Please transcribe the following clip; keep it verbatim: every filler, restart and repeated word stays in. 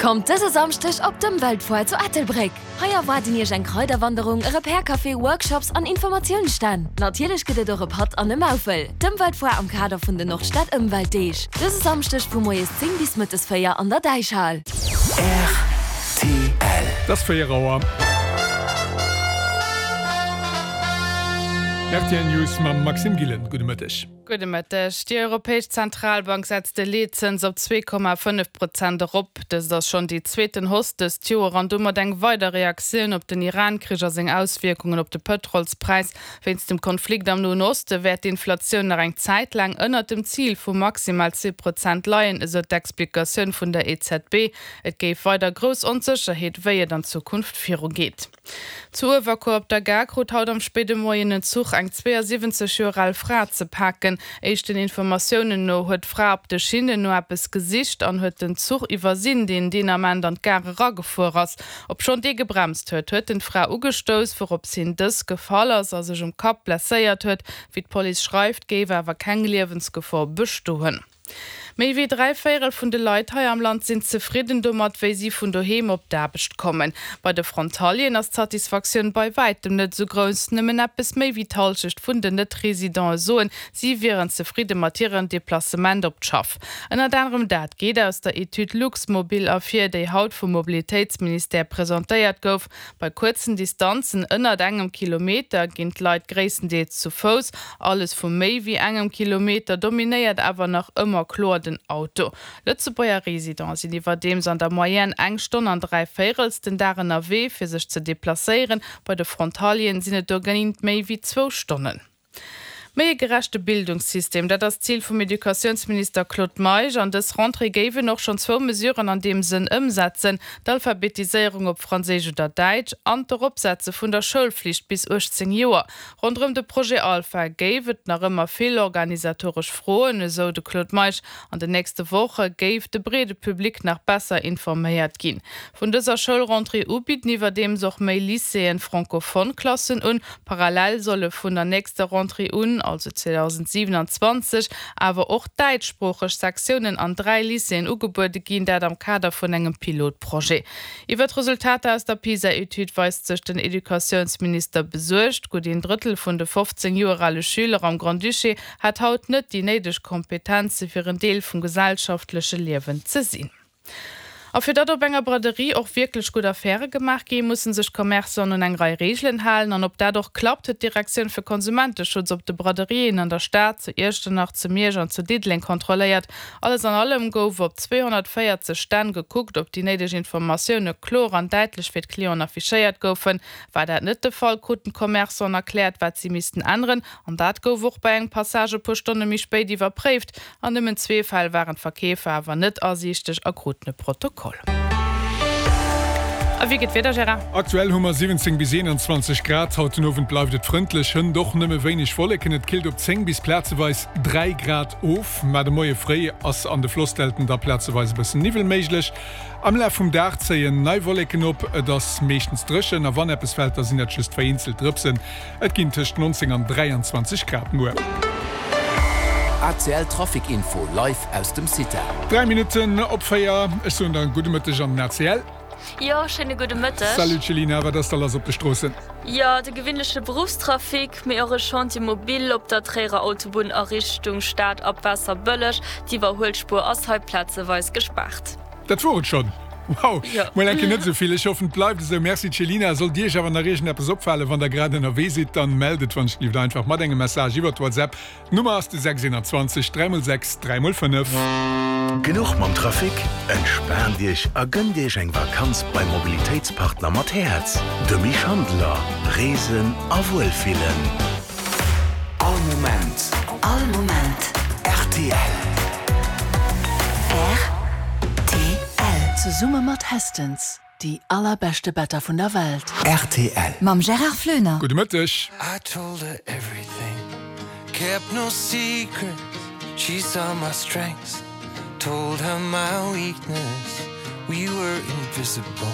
Kommt dëse Samschdeg op d'Ëmweltfoire zu Ettelbréck! Hei erwaarden Iech eng Kraiderwanderung, e Repair Café, Workshops an Informatiounsstänn. Natierlech gëtt et och e Patt an e Maufel. D'Ëmweltfoire am Kader vun den Nordstad Ëmweltdeeg. Dëse Samschdeg vu moies zéng bis mëttes véier an der Däichhal. Rtl. Et ass véier Auer. Rtl News mam Maxime Gillen. Gudde Mëtteg. Gudde Mëtteg. Déi Europäesch Zentralbank setzt de Leetzëns op zwee Komma fënnef Prozent erop. Dëst ass schonn déi zweeten Hausse dëst Joer an domat eng weider Reaktioun op den Iran-Krich a seng Auswierkungen op de Pëtrolspräis. Wéinst dem Konflikt am Noen Oste wäert d'Inflatioun nach eng Zäit laang ënnert dem Zil vu maximal zwee Prozent leien, esou d'Explikatioun vun der E Z B. Et géif weider grouss Onsécherheet, wéi et an Zukunft virugeet. Zu Uewerkuer op der Gare krut haut am spéide Moien en Zuch eng zweeësiwwenzeg Joer al Fra ze paken. Éischten Informatiounen no huet d'Fra op de Schinnen no eppes gesicht an huet den Zuch iwwersinn, deen deen Ament an d'Gare eragefuer ass. Obschonn dee gebremst huet, huet en d'Fra ugestouss, wourops hin dës gefall ass a sech um Kapp blesséiert huet. Wéi d'Police schreift, géif awer keng Liewensgefor bestoen. Méi wéi dräi Véierel vun de Leit hei am Land sinn zefridden domat, wéi si vun doheem op d'Aarbecht kommen. Bei de Frontalieren ass d'Satisfaktioun bei wäitem net esou grouss. Nëmmen eppes méi wéi d'Hallschecht vun den Net-Residente soen, si wieren zefridde mat hiren Deplacement op d'Schaff. Ënnert anerem dat geet aus der Etüd Luxmobil ervir, déi haut vum Mobilitéitsministère presentéiert gouf. Bei kuerzen Distanzen ënnert engem Kilometer ginn d'Leit gréisstendeels zu Fouss. Alles vu méi wéi engem Kilometer dominéiert awer nach ëmmer kloer den Auto. Lëtzebuerger Residenten sinn iwwerdeems an der Moyenne eng Stonn an dräi Véirels den Dag ënnerwee fir sech ze deplacéieren, bei de Frontalieren sinn et dogéint méi wéi zwou Stonnen. Méi e gerechte Bildungssystem, dat ass d'Zil vum Educatiounsminister Claude Meisch. An dës Rentrée géif en och schonn zwou Mesuren an deem Sënn ëmsetzen, d'Alphabetiséierung op Franséisch oder Däitsch an d'Eropsetze vun der Schoulflicht bis uechtzéng Joer. Ronderëm de Projet Alpha géif et nach ëmmer vill organisatoresch Froen, esou de Claude Meisch. An den nächste Woche géif de breede Public nach besser informéiert ginn. Vun dëser Schoulrentrée u bidden iwwerdeems och méi Lycéeën francophone Klassen un. Parallel solle vun der nächster Rentrée un, also zweedausendsiewenanzwanzeg, awer och däitschsproocheg Sektiounen an dräi Lycéeën ugebuede ginn, dat am Kader vun engem Pilotprojet. Iwwer d'Resultater aus der PISA-Etüd weist sech den Educatiounsminister besuergt. Gutt een Drëttel vun de fofzéng Joer ale Schüler am Grand-Duché hätt haut net déi néideg Kompetenze fir en Deel vum gesellschaftleche Liewen ze sinn. A fir datt op enger Braderie och wierklech gutt Affäre gemaach ginn, musse sech d'Commerçanten un eng Rei Reegelen halen. An ob dat och klappt, huet d'Direktioun fir Konsumenteschutz op de Braderien an der Stad, zu Iechternach, zu Miersch an zu Diddeleng kontrolléiert. Alles an allem gouf op zweehonnertvéierzeg Stänn gekuckt, ob déi néideg Informatioune kloer an däitlech fir d'Clienten affichéiert goufen. War dat net de Fall, kruten d'Commerçanten erkläert, wat si missten änneren. An dat gouf och bei engem Passage e puer Stonne méi spéit iwwerpréift. An nëmmen zwee Fäll waren d'Verkeefer awer net asiichteg a kruten e Protokoll. A wéi geet d'Wieder, Gérard? Aktuell hu mer siwwenzéng bis eenanzwanzeg Grad. Haut den Owend bleift et frëndlech, hënt och nëmme wéineg Wolleken. Et killt op zéng bis plazeweis dräi Grad of. Mä de Moie fréi ass an de Flossdelten da plazeweis e bëssen Niwwel méiglech. Am Laf vum Dag zéien nei Wolleken op, et ass meeschtens dréchen a wann eppes fält, da sinn dat just vereenzelt Drëpsen. Et ginn tëscht neunzéng an dräianzwanzeg Grad muer. A C L Trafic Info live aus dem CITA. Dräi Minutten op véier, ech soen der gudde Mëtteg an den A C L. Jo, schéine gudde Mëtteg. Salut Céline, wat ass da lass op de Stroossen? Jo, de gewinleche Beruffstrafic, mee och e Chantier mobile op der Tréierer Autobunn a Richtung Stad ab Waasserbëlleg. D'Iwwerhuelspuer ass hei plazeweis gespaart. Dat wor et schonn! Wow, mol eng Kéier net esou vill. Ech hoffen et bleift esou. Merci Céline. Sollt Iech awer nach iergendeppes opfalen, wann der grad ënnerwee sidd, dann mellt et wann ech gelift einfach mat engem Message iwwert WhatsApp. D'Nummer ass de sechs einundzwanzeg dräi mol sechs dräi mol fënnef. Genuch mam Trafic? Entspaant Iech a gënnt Iech eng Vakanz beim Mobilitéitspartner mat Häerz, de Schandeler. Reesen a Wuelfillen. All Moment. All Moment. R T L. R T L. Zesumme mat Hästens, déi allerbeschte Better vun der Welt. R T L. Mam Gérard Flöner. Gudde Mëtteg. I told her everything, kept no secrets. She saw my strengths, told her my weakness. We were invisible.